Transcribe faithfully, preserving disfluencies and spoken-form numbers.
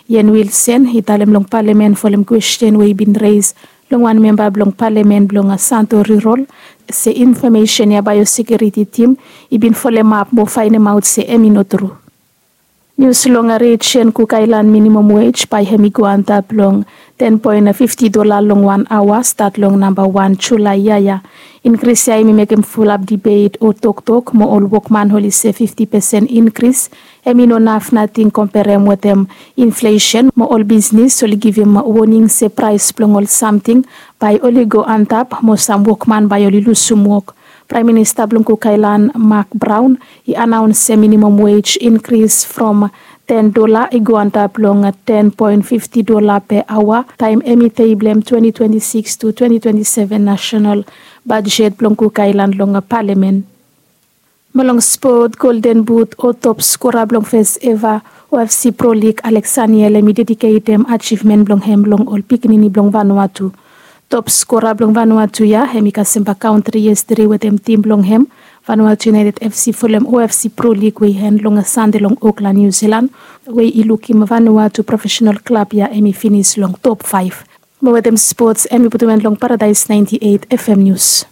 Ian Wilson i talem long palamen folem kwesten we i bin res long wan memba blong palamen blong Santo Rural se infomesen ya bae ol sekiuriti tim i bin folemap mo faenemaot se hem i no tru. Nius long rejien Kuk Aelan minimom wej bae hem i go antap long ten poen fifti dola long wan aoa stat long namba wan Julae yia ya. Inkris ya hem i mekem fulap dibet o toktok mo ol wokman oli se fifti pesen inkris hem i no naf nating komperem wetem inflesen mo ol bisnis oli givim woning se praes blong ol samting bae oli go antap mo sam wokman bae oli lusum wok. Praem Minista blong Kuk Aelan Mak Braon i anaons se minimom wej inkris from ten dola i go antap long ten poen fifti dola pe aoa taem hem i teblem twenti twenti sikis tu twenti twenti seven nasenal bajet blong Kuk Aelan long palamen. Mo long spot, Golden Boot o top skora blong fes eva OFC Pro League Alex Aniel hem i dediketem ajivmen blong hem long ol pikinini blong Vanuatu. Top skora blong Vanuatu ya hem i kasem bak kauntri yestede wetem tim blong hem Vanuatu United FC folem OFC Pro League we i en long Sande long Oklan, Niu Silan, we i lukim Vanuatu profesenal klab ya hem i finis long top faef. Mo wetem spots hem i putum en long Paradaes naenti eit FM Nius.